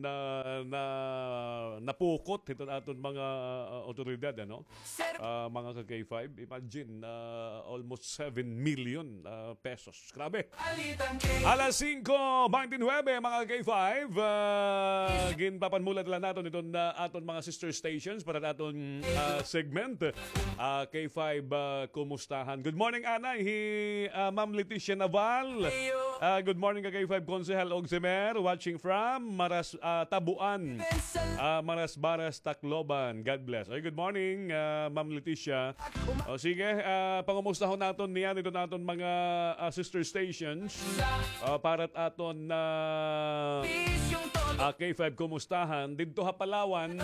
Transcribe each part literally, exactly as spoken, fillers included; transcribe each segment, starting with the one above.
na, na, napukot hiton aton mga, ah, awtoridad, ano? Ah, mga ka-K five, imagine, ah, almost seven million, ah, pesos. Grabe. Alas singko beintinuebe, mga ka-K five, ah, ginpapanmulat la naton iton, ah, aton mga sister stations para aton, ah, segment. Ah, K five, ah, kumustahan? Good morning, anay, hi, ah, Ma'am Leticia Naval. Ah, good morning ka-K five Konsehal Ogsimer, watching from Maras-, ah, Tabuan. Ah, Marasbaras, Tacloban. God bless. Ay, good morning, ah, Ma'am Leticia. O sige, ah, pangumustahon naton niyan iton aton mga, ah, sister stations. Ah, para aton na, ah, K five kumustahan didto ha Palawan.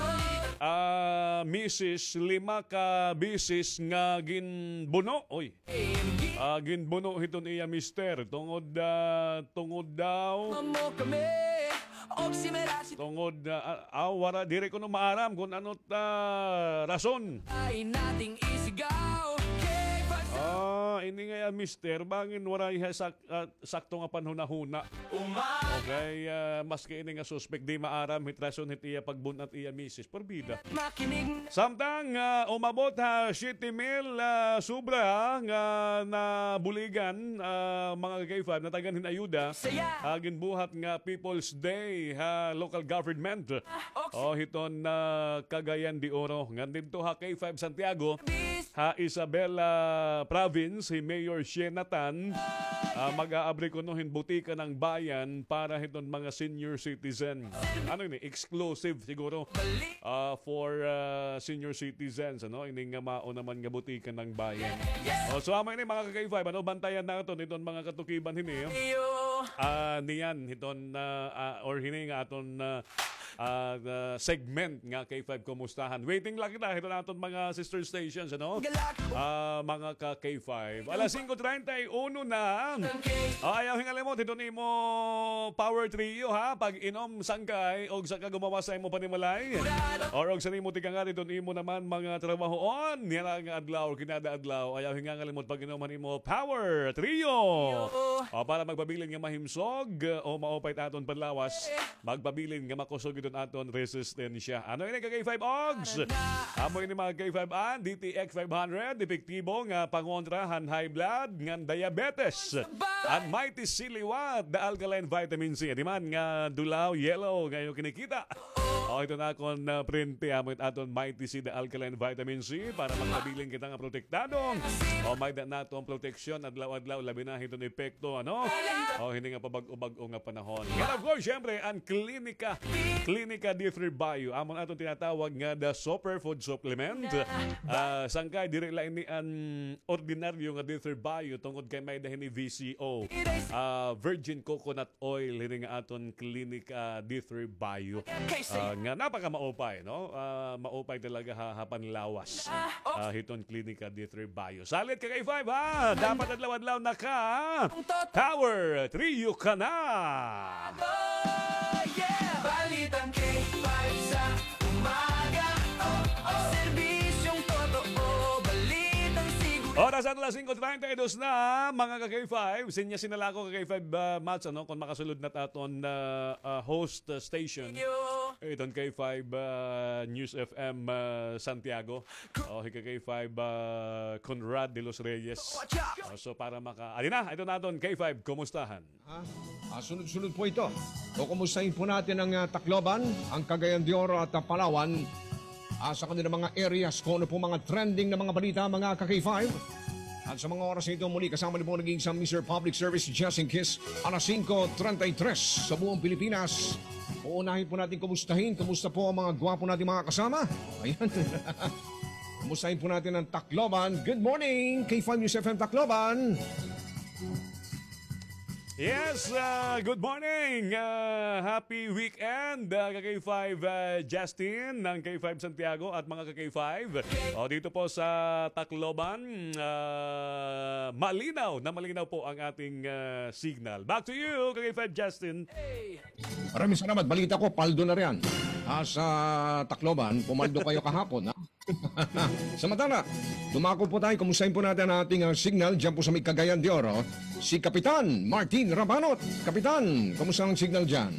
Ah, misis, lima ka beses nga ginbuno. Oy. Ah, ginbuno hiton iya mister tungod, ah, tungod daw tungod, ah, ah, ah, wara, diri kuno maaram kon ano ta rason. Ah, ini nga iya mister, bangin waray ha sak-, ah, sakto nga panhunahuna. Okay, ah, maski ini nga suspek, di maaram hit rason hit iya pagbun-at iya misis. Porbida. Samtang, ah, umabot ha siyete mil, ah, sobra nga nabuligan, ah, mga ka-K five, natagan hin ayuda, ah, ginbuhat nga People's Day ha local government. O, hiton, ah, Cagayan de Oro. Ngan didto ha K five Santiago, ha Isabela Province, hi Mayor Shena Tan, ah, mag-aabri kuno hin Butika ng Bayan para hiton mga senior citizen. Ano ini? Exclusive siguro, ah, for, ah, senior citizens, ano? Ini nga mao naman nga Butika ng Bayan. O, so, amo ini, mga ka-K five, ano? Bantayan naton hiton mga katukiban hini. Ah, niyan, hiton, ah, ah, or hini nga aton, ah, ah, ah, segment nga K five Kumustahan. Waiting lang kita hiton aton mga sister stations, ano? Ah, mga ka-K five. Alas singko treinta y uno na. O, ayaw hingalimot hiton imo power trio, ha? Pag-inom, sangkay, og saka gumawas sa imo panimalay. Or og sa nimo tikangat hiton imo naman mga trabahoon. Niyan nga adlaw, kinada adlaw. Ayaw hingalimot pag-inom han imo power trio. O, para magpabilin nga mahimsog, o maupay it aton panlawas. Magpabilin nga makusog iton aton resistensya. Ano ini, ka-K five Ogs? Amo ini, mga K five, an D T X five hundred, epektibo nga pangontra han high blood ngan diabetes. An Mighty C Liwat, the alkaline vitamin C. Adi man nga dulaw, yellow, nga iyo kinikita. O, ito na akon, ah, prente, amo it aton Mighty C, the alkaline vitamin C, para magpabilin kita nga protektado. O, may-ada naton proteksyon adlaw-adlaw, labi na hiton epekto, ano? O, hini nga pabag-o-bag-o nga panahon. And of course, syempre, an Klinika, Klinika D three Bio. Amo an aton tinatawag nga the superfood supplement. Ah, sangkay, diri la ini an ordinaryo nga D three Bio tungod kay may-ada hini V C O. Ah, virgin coconut oil, hini nga aton Klinika D three Bio. Ah, nga napakamaupay, no? Ah, maupay talaga ha, ha panlawas. Ah, hiton Klinika D three Bio. Salit ka, K five, ha? Dapat adlaw-adlaw naka Power Trio ka na. Oras aton alas singko treinta y dos na, mga ka-K five. Sinya sinala ko ka-K five, ah, Mats, ano, kon makasulod na it aton, ah, ah, host, ah, station. Iton K five, ah, News F M, ah, Santiago. O, hi ka-K five, ah, Conrad de los Reyes. O, so, para maka-, adi na, ito na aton K five, kumustahan? Ha? Ah, sunod-sunod po ito. Kukumustahin po natin ang, ah, Tacloban, ang Cagayan de Oro at, ah, Palawan. Ah, sa kanilang mga areas, kung ano po mga trending na mga balita, mga ka-K five. At sa mga oras na ito, muli kasama niyo po naging isang Mister Public Service, Justin Kiss, alas singko treinta y tres sa buong Pilipinas. Uunahin po natin kumustahin. Kumusta po ang mga gwapo nating mga kasama? Ayan. Kumustahin po natin ang Tacloban. Good morning, K five News F M Tacloban. Yes, ah, good morning. Ah, happy weekend, ah, ka-K five, ah, Justin ng K five Santiago at mga ka-K five. O, dito po sa Tacloban, ah, malinaw na malinaw po ang ating, ah, signal. Back to you, ka-K five Justin. Maraming salamat. Balita ko, paldo na riyan. Ah, sa Tacloban, pumaldo kayo kahapon, ha? Samantala, dumako po tayo. Kumustahin po natin ang ating, ah, signal dyan po sa may Cagayan de Oro. Si Kapitan Martin Rabanot. Kapitan, kumusta ang signal dyan?